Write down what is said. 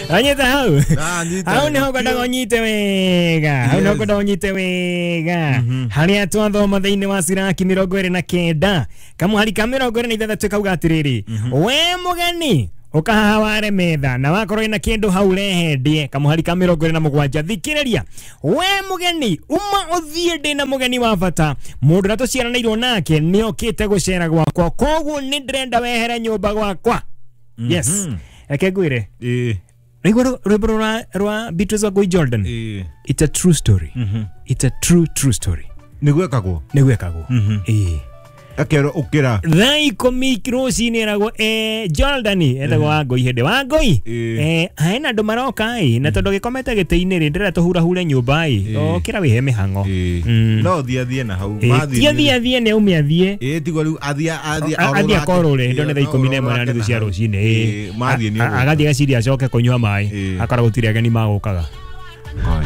Anyita hau. Ndanyita. Hau niho ngwendaga ũnyite wega, hau niho ngwendaga ũnyite wega, harĩa twathoma thĩinĩ wa Siraki 29 kamũhari ka 26 kauga atĩrĩrĩ, we mũgeni ũkahaha ware metha na wakorwo ina kĩndũ hau rehe ndĩe. Kamũhari ka 27, thikĩrĩria, we mũgeni, uma ũthiĩ, ndĩna mũgeni wa bata, mũndũ ũrĩa tũciaranĩirwo nake nĩokĩte gũcera gwakwa, koguo nĩ ndĩrenda wehere nyũmba gwakwa. Yes, reke ngwĩre. Rĩu rwĩmbo rwa Beatrice Wangui Jordan. It's a true story. It's a true true story. Nĩ gwekagwo. Nĩ gwekagwo, ĩĩ. Akerwo ũkĩra. Thaa 10 rũcinĩ eragwo, Jordan, etagwo Wangui hĩndĩ Wangui, hena andũ maroka ĩ, na tondũ gĩkomete gĩtĩ-inĩ rĩ, ndĩrenda tũhurahure nyũmba ĩ, ũkĩra wĩhe mĩhang'o. No thiĩ athiĩ na hau. Ti athiĩ athiĩ, nĩ aume athiĩ. Ĩĩ, tiguo rĩu athiĩ athiĩ. Athiĩ akorũre hĩndĩ ĩyo nĩ thaa 11:30 cia rũcinĩ, ĩĩ. Mathiĩ nĩ ũgũka. Agathiĩ agaciria acoke kũnyua maĩ, akora gũtirĩ ageni magũkaga.